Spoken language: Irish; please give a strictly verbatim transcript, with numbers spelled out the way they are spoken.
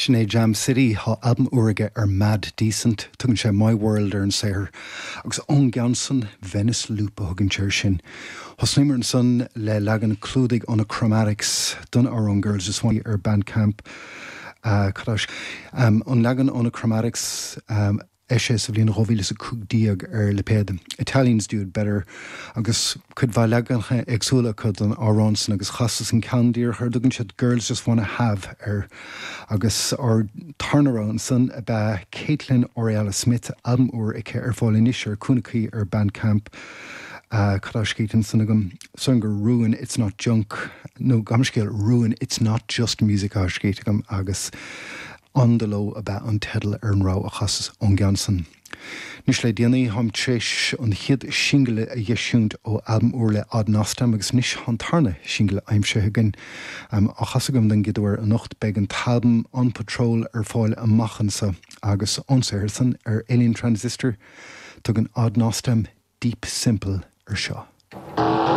Sin é Jam City tá albam úr aige ar Mad Decent, tugann sé My World ar an saothar, agus ón gceann san Venice Loop a thugann sé sin. Thosnaíomar ansan le leagan clúdaigh ó na Chromatics don amhrán Girls Just Want ar Bandcamp. Uh, um, an leagan ó na Chromatics um, eisíodh sa bhliain dhá mhíle is a cúig déag ar lipéad Italians Do It Better agus cuid mhaith leaganacha éagsúla acu don amhrán san agus chasas an ceann díreach ar dtugann siad Girls Just Wanna Have air agus ár dtarna rogha ansan ab ea Caitlin Oriala Smith albam úr aici ar fáil anois ar Cúnacaí ar Bandcamp. Uh, Cad tá scríte ansan agam san gur Ruin it's not junk nó gabh mo leithscéal Ruin it's not just music á scríte agam agus On the Low ab ea an teideal ar an rogha a chasas ón gceann san. Anois le déanaí táim tar éis an chéad singil a eisiúint ó albam úr le Odd Nosdam agus anois an tarna singil aimsithe againn um, á chasadh agam den gcéad uair anocht beidh an t-albam On Patrol ar fáil amach anseo agus ón saothar san ar Alien Transistor tugann Odd Nosdam Deep Simple ar seo.